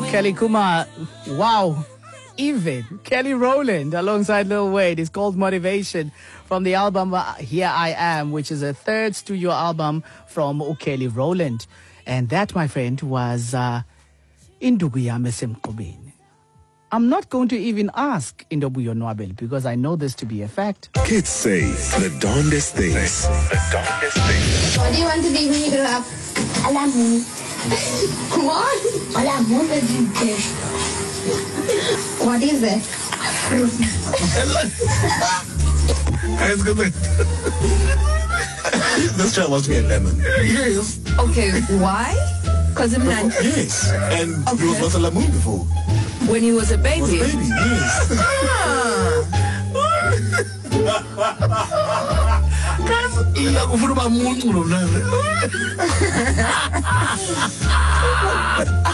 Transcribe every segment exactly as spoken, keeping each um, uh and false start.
Kelly Kuma, wow, even Kelly Rowland alongside Lil Wayne. It's called Motivation from the album Here I Am, which is a third studio album from Kelly Rowland. And that, my friend, was uh, Induku Yam Esemqubeni. I'm not going to even ask Indobu Yonwabel because I know this to be a fact. Kids say the darndest things. The darndest things. What do you want to be when you grow up? Alamu. What? Alamu. What is it? This child wants to be a lemon. Yes. Okay, why? Because I'm not. Yes, and okay. He was once a lemon before. When he was a baby? Was a baby, yes. Ah. Guys, I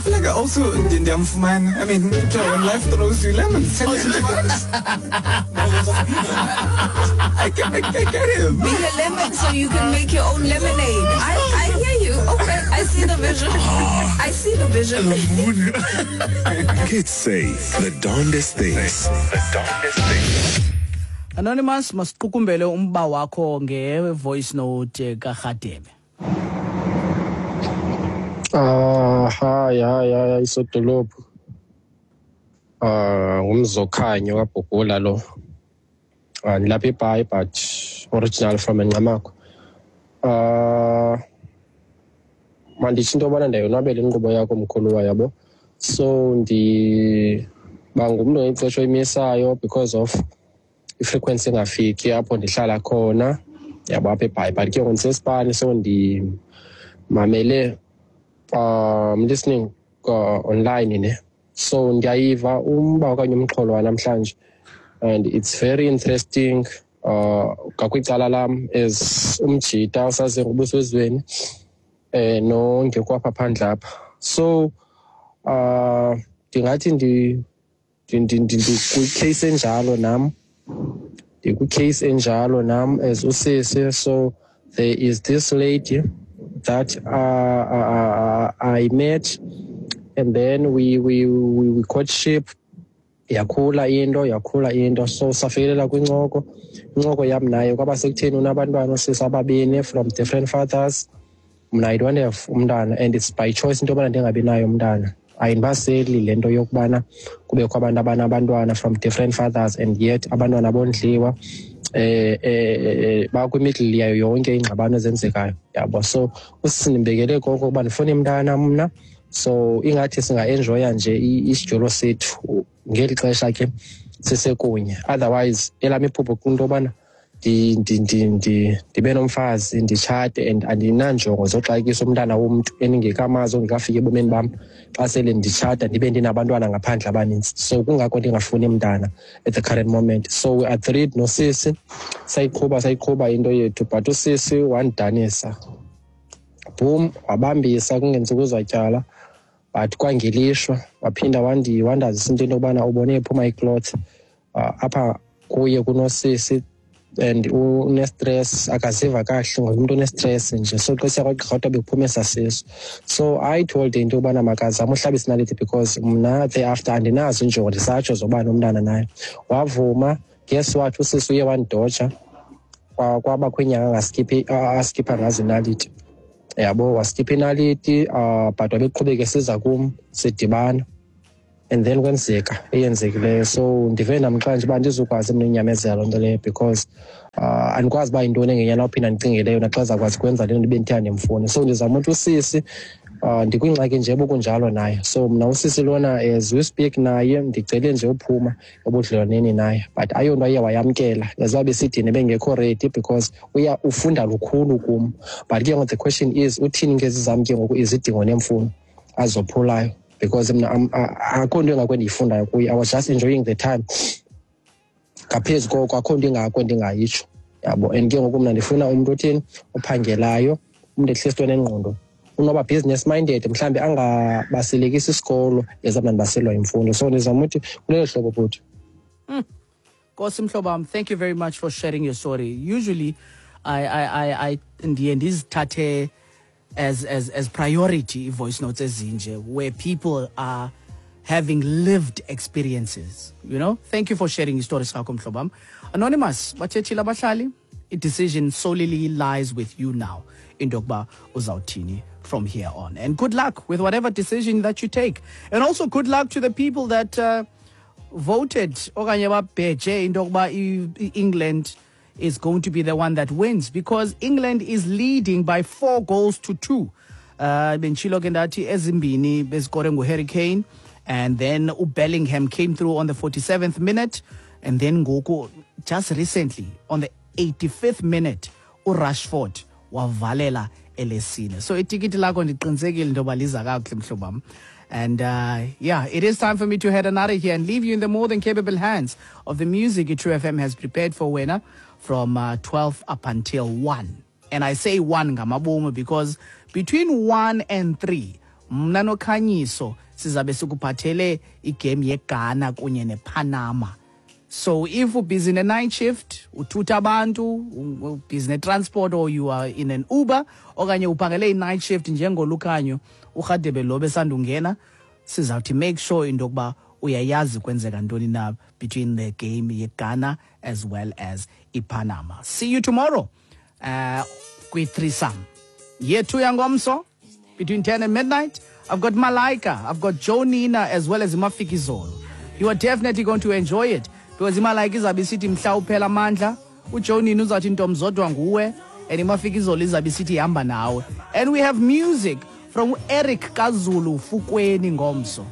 feel like I also didn't man. I mean, when life throws you lemons, I, get, I, I get him. Be a lemon so you can make your own lemonade. I, I hear you. Okay, I see the vision. I see the vision. Kids say the darndest things. The darndest things. Anonymous, masiqukumbele umba wakho nge-voice note kaRhadebe. Ah, hi, hi, hi, isodolophu. Ah, ngumzokhanyo kaBhugula lo. Ah, ndilapha eBhayi but original from eNqamakho. Ah, manditsho into yobana ndiyayonwabela inkqubo yakho mkhuluwa yabo. So ndiba ngumntu ngexesha oyimisayo because of i-frequency engafiki apho ndihlala khona yabo apha eBhayi, but ke ngoku ndisesipani so ndimamele um listening uh, online ne. So ndiyayiva umba okanye umxholo wanamhlanje and it's very interesting uh ngakwicala lam as umjita osaze ngobuso ezweni eh nongekho apha phandle apha. So uh ndingathi ndi ndikwi-case enjalo nam ndikwi-case enjalo nam as usisi. So there is this lady that uh, uh, I met and then we we we, we courtship. Yakhula into yakhula into so safikelela kwincoko incoko yam naye kwaba sekutheni unabantwana osisi ababini from different fathers. Mna I don't have umntana and it's by choice into yobana ndingabi nayo umntana. Ayindibaseli le nto yokubana kubekho abantu abanabantwana from different fathers and yet abantwana bondliwa eh eh bakwimiddle yayo yonke ingxabano ezenzekayo yabo. So usisi ndimbekele koko ukuba ndifuna umntana mna, so ingathi singa-enjoya nje isijolo sethu ngeli xesha ke sisekunye. Otherwise elam iphupho kwinto yobana ndibe nomfazi nditshate and andinanjongo zoxakisa umntana womntu endingekamazi ongekafiki ebomini bam xa sele nditshata ndibe ndinabantwana ngaphandle abanintsi. So kungako ndingafuni mntana at the current moment. So we agreed nosisi sayiqhuba sayiqhuba into yethu, but usisi wandidanisa boom wabambisa kungentsuku zatyala, but kwangelishwa waphinda wandazisa into yobana ubone ephuma icloth uh, apha kuye kunosisi and une-stress akaziva kahle ngumntu one-stress nje. So xa siya kwagqirha kodwa bekuphuma esasiso. So I told into yobana makazame uhlaba isinaliti because mna thereafter andinazo injongo ndisatsho zoba nomntana naye. Wavuma. Guess what, usisi uye wandidoja kwabakho iinyanga angaskiphi askipha ngazo inaliti yabo. Waskipha inaliti uh, but wabeqhubeka esiza kum sidibana and then kwenzeka eyenzekileyo. So ndive namhlanje uba andizukwazi mna unyamezela loo nto leyo because uh, andikwazi uba yintoni engenyana uphinda ndicingeleyo naxa zakwazi kwenza le nto ndibe ndithe andimfuni. So ndizama uthi usisi uh, ndikwingxaki nje bokunjalo naye. So mna usisi lona as we speak naye ndicele nje uphuma ebudlelwaneni naye, but ayonto aye wayamkela as uba besidini bengekho ready because uya ufunda lukhulu kum. But ke ngoku the question is uthini ngezi zam ke ngoku izidingo neemfuno azophulayo because mna akho nto engako endiyifundayo kuye. I was just enjoying the time. Ngaphezu koko akho nto ingako endingayitsho yabo. And ke ngoku mna ndifuna umntu othini ophangelayo, umntu at least onengqondo, unoba business minded, mhlawumbi angabaselekisi isikolo ezam ndibaselwa yimfundo. So ndizama uthi kulelo hlobo bhuti. Nkosi mhlobo wam, thank you very much for sharing your story. Usually I I I I ndiye ndizithathe as as as priority voice notes ezinje where people are having lived experiences, you know. Thank you for sharing istory sakho, mhlobam. Anonymous, bathethile abahlali, i-decision solely lies with you now into yokuba uzawuthini from here on. And good luck with whatever decision that you take. And also good luck to the people that uh, voted okanye babheje into yokuba i-England is going to be the one that wins, because England is leading by four goals to two. Uh, benditshilo ke ndathi ezimbini bezikore nguHarry Kane, and then uBellingham came through on the forty-seventh minute, and then ngoku just recently on the eighty-fifth minute uRashford wavalela elesine. So itikiti lakho ndiqinisekile into yoba liza kakuhle, mhlobam. And uh, yeah, it is time for me to head on out of here and leave you in the more than capable hands of the music True F M has prepared for wena from uh, twelve up until one. And I say one ngamabomu because between one and three, mna noKhanyiso sizabe sikuphathele igame yeGhana kunye nePanama. So if you're busy in a night shift, uthutha abantu, busy in transport, or you are in an Uber, okanye uphangele i-night shift njengolukhanyo, uRhadebe lo besandungena, sizawuthi make sure into yokuba uyayazi kwenzeka ntoni na between the game yeGhana as well as iPanama. See you tomorrow uh, kwi-threesome. Yethu yangomso, between ten and midnight, I've got Malaika, I've got Joe Nina, as well as Imafikizolo. You are definitely going to enjoy it, because iMalaika izabe isithi mhla uphela amandla, uJoe Nina uzathi ntomzodwa nguwe, and Imafikizolo izabe isithi ihamba nawe. And we have music from Eric Kazulu Fukweni ngomso.